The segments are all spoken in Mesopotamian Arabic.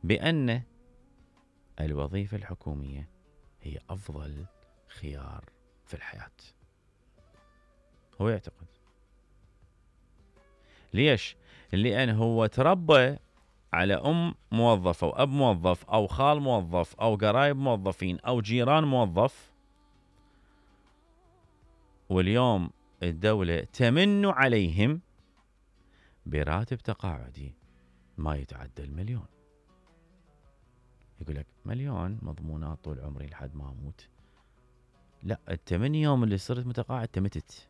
بأن الوظيفة الحكومية هي أفضل خيار في الحياة. هو يعتقد. ليش؟ لأن هو تربى على أم موظفة وأب موظف أو خال موظف أو قرايب موظفين أو جيران موظف، واليوم الدولة تمن عليهم براتب تقاعدي ما يتعدى 1,000,000. يقول لك 1,000,000 مضمونات طول عمري لحد ما أموت. لا، ال8 يوم اللي صرت متقاعد تمتت،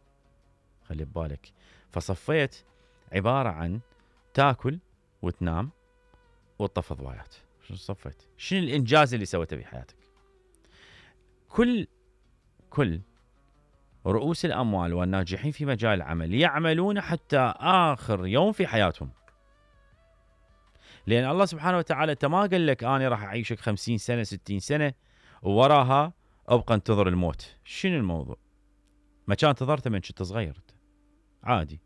خلي ببالك. فصفيت عبارة عن تاكل وتنام وتطفى ضوايات. شنو صفيت؟ شنو الإنجاز اللي سويته بحياتك؟ كل رؤوس الأموال والناجحين في مجال العمل يعملون حتى آخر يوم في حياتهم، لأن الله سبحانه وتعالى أنت ما قال لك أنا راح أعيشك 50 سنة 60 سنة ووراها أبقى انتظر الموت. شنو الموضوع؟ ما كان انتظرته من كنت صغير عادي،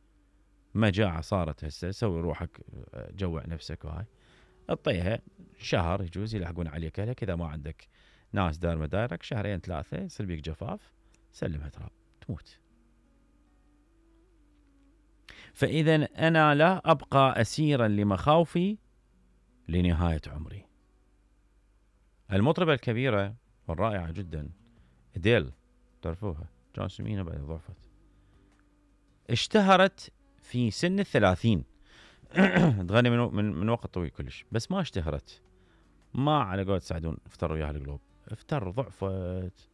مجاعة صارت هسه سوي روحك جوع نفسك وهاي اعطيها شهر يجوز يلحقون عليك أهلك. إذا ما عندك ناس دار مدارك شهرين 3 يصير بيك جفاف، سلمها تراب تموت. فإذا أنا لا أبقى أسيرا لمخاوفي لنهاية عمري. المطربة الكبيرة والرائعة جدا أديل، تعرفوها، جون سمينة بعد ضعفت، اشتهرت في سن 30 تغني من وقت طويل كلش، بس ما اشتهرت، ما على قولة سعدون افتر وياها القلوب، افتر ضعفت،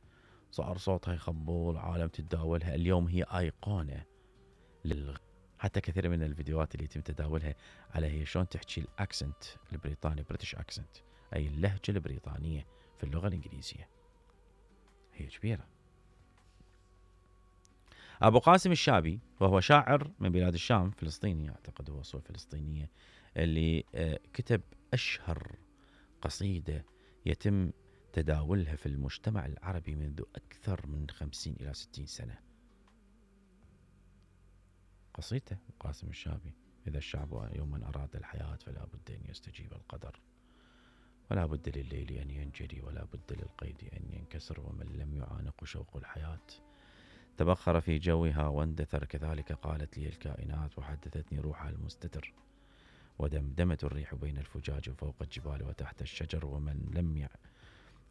صار صوتها يخبل، عالم تتداولها. اليوم هي أيقونة حتى كثير من الفيديوهات اللي يتم تداولها على هي شلون تحكي الأكسنت البريطاني، بريتش أكسنت، أي اللهجة البريطانية في اللغة الإنجليزية، هي كبيرة. أبو قاسم الشابي وهو شاعر من بلاد الشام، فلسطيني أعتقد، هو أصول فلسطينية، اللي كتب أشهر قصيدة يتم تداولها في المجتمع العربي منذ أكثر من 50 إلى 60 سنة. قصيدة قاسم الشابي: إذا الشعب يوما أراد الحياة فلا بد أن يستجيب القدر، ولا بد لليل أن ينجلي، ولا بد للقيد أن ينكسر، ومن لم يعانق شوق الحياة تبخر في جوها واندثر. كذلك قالت لي الكائنات وحدثتني روحها المستتر، ودمدمت الريح بين الفجاج فوق الجبال وتحت الشجر،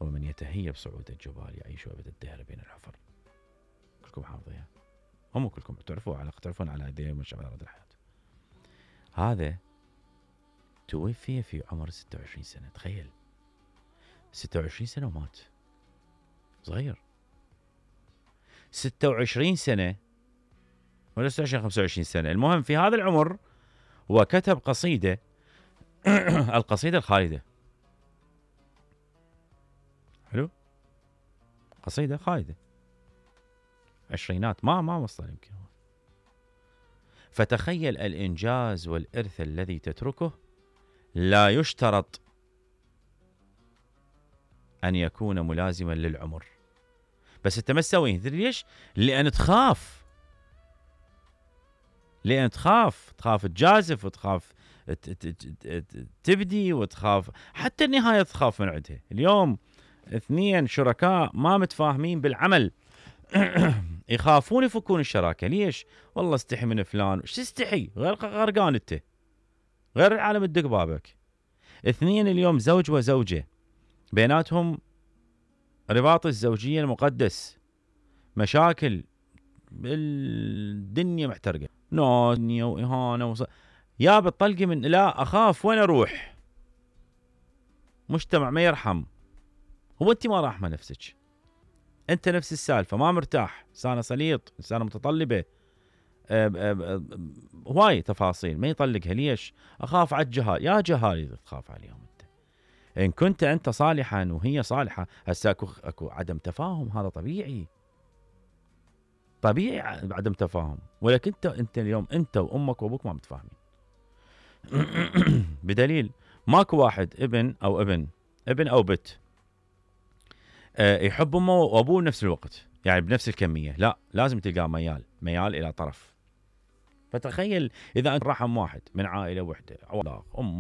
ومن يتهيب صعود الجبال يعيش أبد الدهر بين الحفر. كلكم حافظيها، هم كلكم تعرفون على هذه من شعراء الحياة. هذا توفي في عمر 26 سنة، تخيل 26 سنة ومات، صغير. 26 سنة ولا 26 25 سنة، المهم في هذا العمر وكتب قصيدة القصيدة الخالدة. حلو، قصيدة خالدة، عشرينات، ما وصل يمكن. فتخيل الإنجاز والإرث الذي تتركه لا يشترط أن يكون ملازما للعمر، بس أنت ما تسويه. ليش؟ لأن تخاف تجازف، وتخاف تبدي، وتخاف حتى النهاية تخاف من عندها. اليوم 2 شركاء ما متفاهمين بالعمل يخافون يفكون الشراكة. ليش؟ والله استحي من فلان. وش تستحي؟ غير غرقان انت، غير العالم تدق بابك. 2 اليوم زوج وزوجة بيناتهم رباط الزوجية المقدس، مشاكل بالدنيا محترقة، نونية وإهانة يا بتطلقي من لا أخاف وين أروح. مجتمع ما يرحم. هو أنت ما راحمة نفسك، أنت نفس السالفة، ما مرتاح، إنسانة سليط، إنسانة متطلبة، هواي تفاصيل ما يطلقها. ليش؟ أخاف على الجهال. يا جهال تخاف عليهم أنت، إن كنت أنت صالحا وهي صالحة. هسه أكو عدم تفاهم، هذا طبيعي عدم تفاهم، ولكن أنت اليوم أنت وأمك وأبوك ما متفاهمين بدليل ماكو واحد ابن أو بنت يحب أمه وأبوه بنفس الوقت، يعني بنفس الكمية، لا، لازم تلقى ميال إلى طرف. فتخيل إذا أنت رحم واحد من عائلة وحدة، أم